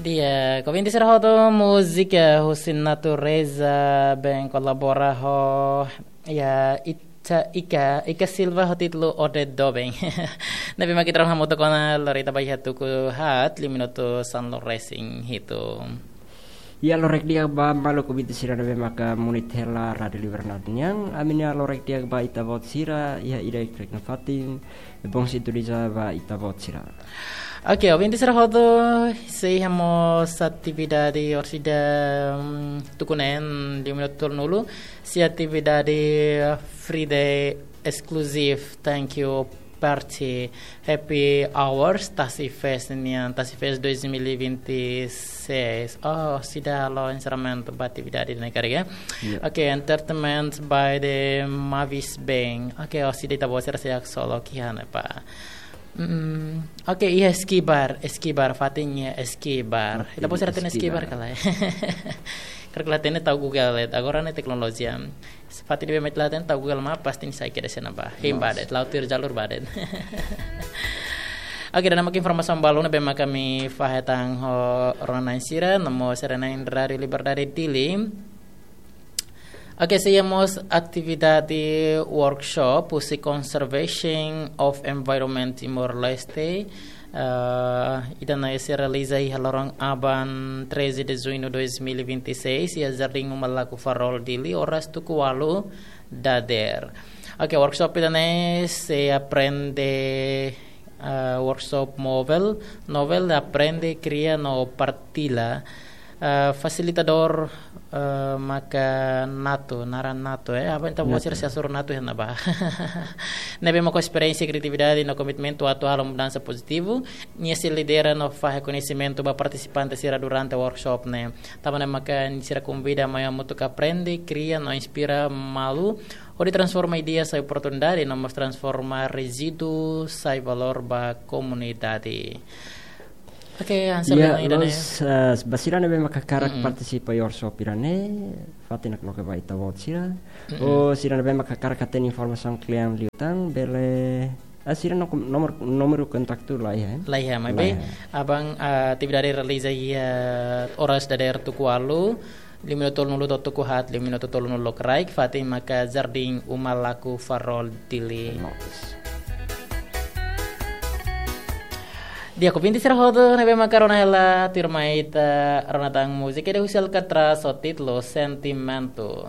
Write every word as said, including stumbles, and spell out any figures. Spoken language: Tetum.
Di'ak, ouvinte sira hotu, múzika husi natureza bem kolabora ho, ya, Ita, Ika, Ika Silva ho títulu Ode Doben. Ne'ebé mak ita rona hamutuk ona, lori ita ba iha tuku haat, liu minutu sanulu resin hitu. Ya, lorokraik di'ak ba maluk ouvinte sira ne'ebé maka munit hela Rádiu Liberdade nian, ami-nia lorokraik di'ak ba ita-boot sira iha ida-idak nia fatin, bom sintoniza ba ita-boot sira. Oke, ouvinte sira hotu, sei iha mós atividade orsida, mm, tuku neen liu minutu tolunulu, sei atividade Friday exclusive, thank you party, happy hours, Tasi Fest nian, Tasi Fest dois mil e vinte e seis. Oh, seidauk halo enserramentu ba atividade ne'e karik, ya? Ya. Oke, entertainment by the Mavis Band. Oke, oh, seidauk ita-boot sira sei haksolok iha ne'ebá. Mm, oke, iha Skibar, Skibar, fatin iha Skibar. Oke, ita-boot sira hatene Skibar. Skibar ka lae? Karik la hatene tau Google, eh, agora ne'e teknolojia. Fatin ne'ebé mak la hatene tau Google Map, pasti nia sai kedas iha ne'ebá. Hein ba de'it, la'o tuir jalur ba de'it. Oke, ida-ne'e mak informasaun balun ne'ebé mak ami fahe tan ho rona-na'in sira, no mós sira-nia Rádiu Liberdade Dili. Oke, sei iha mós atividade workshop husi Conservation of Environment Timor-Leste. Eh, ida-ne'e sei realiza iha loron aban, treze de junho dois mil e vinte e seis, iha Jardín Uma Laku Farol Dili, oras tuku ualu dadeer. Oke, workshop ida-ne'e sei aprende, eh, workshop móvel, novel aprende, kria no partilla. Eh, fasilitadór, eh, maka Nato, naran Nato, eh, aban ita-boot sira Nato. Sei hasoru Nato iha ne'ebá. Ne'ebé mak ho esperiénsia, kriatividade no komitmentu atu halo mudansa pozitivu, nia sei lidera no fahe koñesimentu ba partisipante sira durante workshop ne'e. Tanba ne'e maka sira konvida mai hamutuk aprende, kria no inspira malu, hodi transforma ideia sai oportunidade, no mós transforma rezíduu sai valór ba komunidade. Oke, hanesan ida-ne'e. Ya, loos, eh, ba sira ne'ebé mak hakarak partisipa iha workshop ida-ne'e, fatin nakloke ba ita-boot sira. Ou sira ne'ebé mak hakarak hatene informasaun kle'an liután, bele, ah, sira-nia nomor, nomor kontaktu laiha, eh? Laiha, maibé, la iha. Aban, ah, atividade realiza iha oras dadeer tuku ualu, liu minutu tolunulu to'o tuku haat, liu minutu tolunulu lokraik, fatin maka Jardín Uma Laku Farol Dili. Loos. Di'ak, ouvinte sira hotu, ne'ebé maka rona hela, tuirmai ita rona tan múzika ida husi Alcatraz ho títulu Sentimentu.